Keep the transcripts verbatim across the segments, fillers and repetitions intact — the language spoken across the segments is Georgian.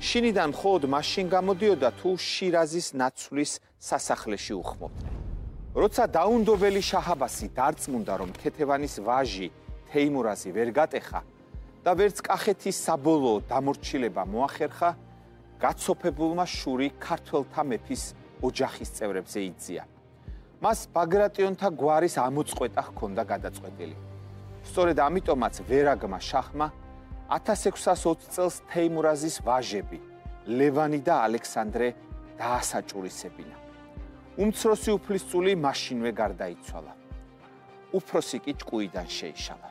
შინიდან მხოლოდ მაშინ გამოდიოდა თუ შირაზის ნაცვლის სასახლეში უხმობდნენ. როცა დაუნდობელი შაჰ-აბასი დარწმუნდა, რომ ქეთევანის ვაჟი თეიმურაზი ვერ გატეხა და ვერც კახეთის საბოლოო დამორჩილება მოახერხა, გაცოფებულმა შური ქართველთა მეფის ოჯახის წევრებზე იძია. მას ბაგრატიონთა გვარის ამოწყვეტა ჰქონდა გადაწყვეტილი. სწორედ ამიტომაც ვერაგმა შაჰმა ათას ექვსას ოცი წელს თეიმურაზის ვაჟები ლევანი და ალექსანდრე დაასაჭურისებინა. უმცროსი უფლისწული მაშინვე გარდაიცვალა. უფროსი კი ჭკუიდან შეიშალა.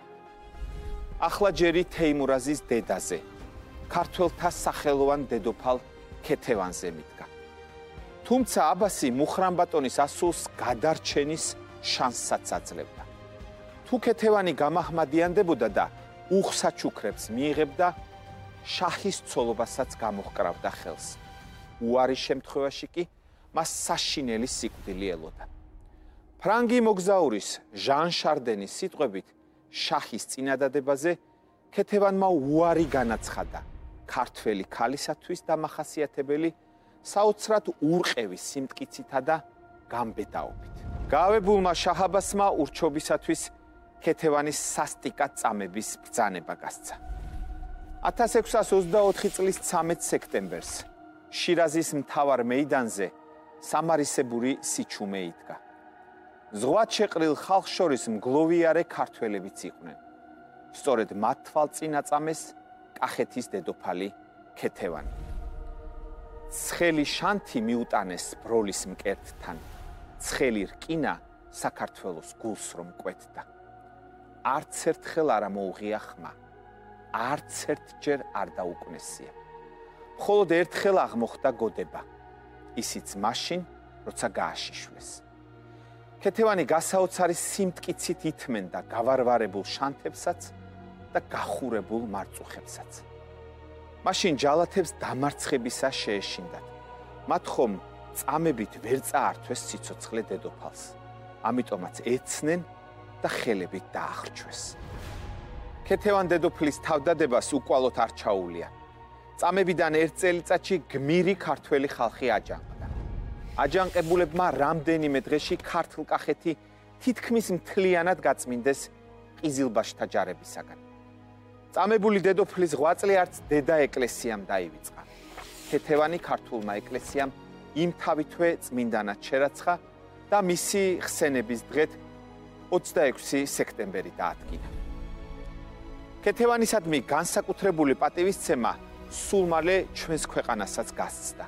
ახლა ჯერი თეიმურაზის დედაზე, ქართველთა სახელოვან დედოფალ ქეთევანზე მიდგა. თუმცა აბასი მუხრანბატონის ასულს გადარჩენის შანსსაც აძლევდა. თუ ქეთევანი გამაჰმადიანდებოდა და უხსაჩუქრებს მიიღებდა, შაჰის ცოლობასაც გამოჰკრავდა ხელს. უარის შემთხვევაში კი მას საშინელი სიკვდილი ელოდა. ფრანგი მოგზაურის ჟან შარდენის სიტყვებით, შაჰის წინადადებაზე ქეთევანმა უარი განაცხადა ქართველი ქალისათვის დამახასიათებელი საოცრად ურყევი სიმტკიცითა და გამბედაობით. გაავებულმა შაჰ-აბასმა ურჩობისათვის ქეთევანის სასტიკად წამების ბრძანება გასცა. ათას ექვსას ოცდაოთხი წლის ცამეტ სექტემბერს შირაზის მთავარ მეიდანზე სამარისებური სიჩუმე იდგა. ზღვად შეყრილ ხალხს შორის მგლოვიარე ქართველებიც იყვნენ. სწორედ მათ თვალწინაწამეს კახეთის დედოფალი ქეთევანი. ცხელი შანთი მიუტანეს ბროლის მკერდთან, ცხელი რკინა საქართველოს გულს რომ კვეთდა. არც ერთხელ არ მოუღია ხმა, არც ერთჯერ არ დაუკნესია. მხოლოდ ერთხელ აღმოხდა გოდება, ისიც მაშინ, როცა გააშიშვეს. ქეთევანი გასაოცარი სიმტკიცით ითმენდა გავარვარებულ შანთებსაც და გახურებულ მარწუხებსაც. მაშინ ჯალათებს დამარცხებისა შეეშინდათ. მათ ხომ წამებით ვერ წაართვეს სიცოცხლე დედოფალს. ამიტომაც ეცნენ და ხელებით დაახრჩვეს. ქეთევან დედოფლის თავდადებას უკვალოდ არ ჩაუვლია. წამებიდან ერთ წელიწადში გმირი ქართველი ხალხი აჯანყდა. აჯანყებულებმა რამდენიმე დღეში ქართლ-კახეთი თითქმის მთლიანად გაწმინდეს ყიზილბაშთა ჯარებისაგან. წამებული დედოფლის ღვაწლი არც დედა ეკლესიამ დაივიწყა. ქეთევანი ქართულმა ეკლესიამ იმთავითვე წმინდანად შერაცხა და მისი ხსენების დღეთ ოცდაექვსი სექტემბერი დაადგინა. ქეთევანისადმი განსაკუთრებული პატივისცემა სულ მალე ჩვენს ქვეყანასაც გასცდა.